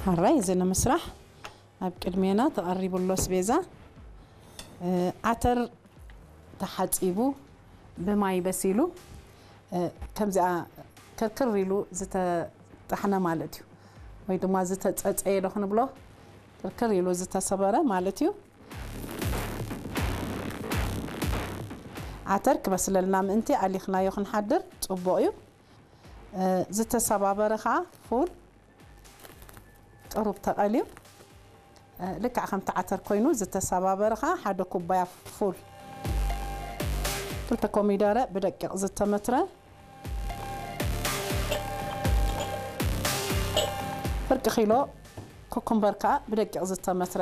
ሓራይ እዚ ንምስራሕ ኣብ ቅድሜና ተቐሪቡ ኣሎ ኣስቤዛ። እ፣ ዓተር ተሓጺቡ ብማይ በሲሉ፣ እ፣ ከምዚኣ ክርክር ኢሉ ዝተጣሕነ ማለት እዩ። ወይ ድማ ዝተጸጸየ ዶ ክንብሎ፣ ክርክር ኢሉ ዝተሰበረ ማለት እዩ። ዓተር ክበስለልና ምእንቲ ኣሊኽናዮ ክንሓድር ጽቡቕ እዩ። እ፣ ዝተሰባበረ ኸኣ ፉል ቅሩብ ተቐልዩ፣ እ፣ ልክዕ ከምቲ ዓተር ኮይኑ ዝተሰባበረ ኸኣ ሓደ ኩባያ ፉል። ክልተ ኮሚደረ ብደቂቕ ዝተመትረ። ፍርቂ ኪሎ ኩኩምበር ከኣ ብደቂቕ ዝተመትረ።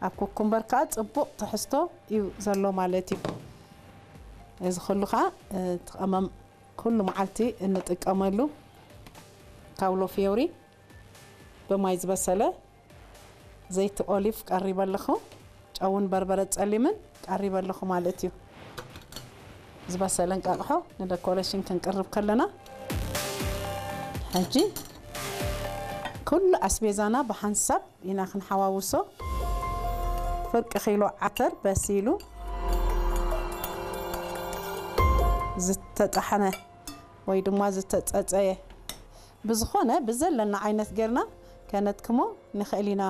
ኣብ ኩኩምበር ከኣ ጽቡቕ ትሕዝቶ እዩ ዘሎ ማለት እዩ። እዚ ኩሉ ከኣ፣ እ፣ እቲ ቀመም ኩሉ መዓልቲ እንጥቀመሉ ካውሎ ፊዮሪ ብማይ ዝበሰለ ዘይቲ ኦሊቭ ቀሪበ ኣለኹ። ጨውን በርበረ ጸሊምን ቀሪበ ኣለኹ ማለት እዩ። ዝበሰለ እንቃቕሖ ንደኮሬሽን ክንቅርብ ከለና፣ ሕጂ ኩሉ ኣስቤዛና ብሓንሳብ ኢና ክንሓዋውሶ። ፍርቂ ኪሎ ዓተር በሲሉ ዝተጣሕነ ወይ ድማ ዝተጸጸየ፣ ብዝኾነ ብዘለና ዓይነት ጌርና ከነትክሞ ንኽእል ኢና።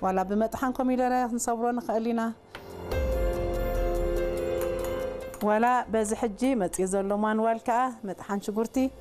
ዋላ ብመጥሓን ኮሚደረ ክንሰብሮ ንኽእል ኢና። ዋላ በዚ ሕጂ መጽዩ ዘሎ ማንዋል ከኣ መጥሓን ሽጉርቲ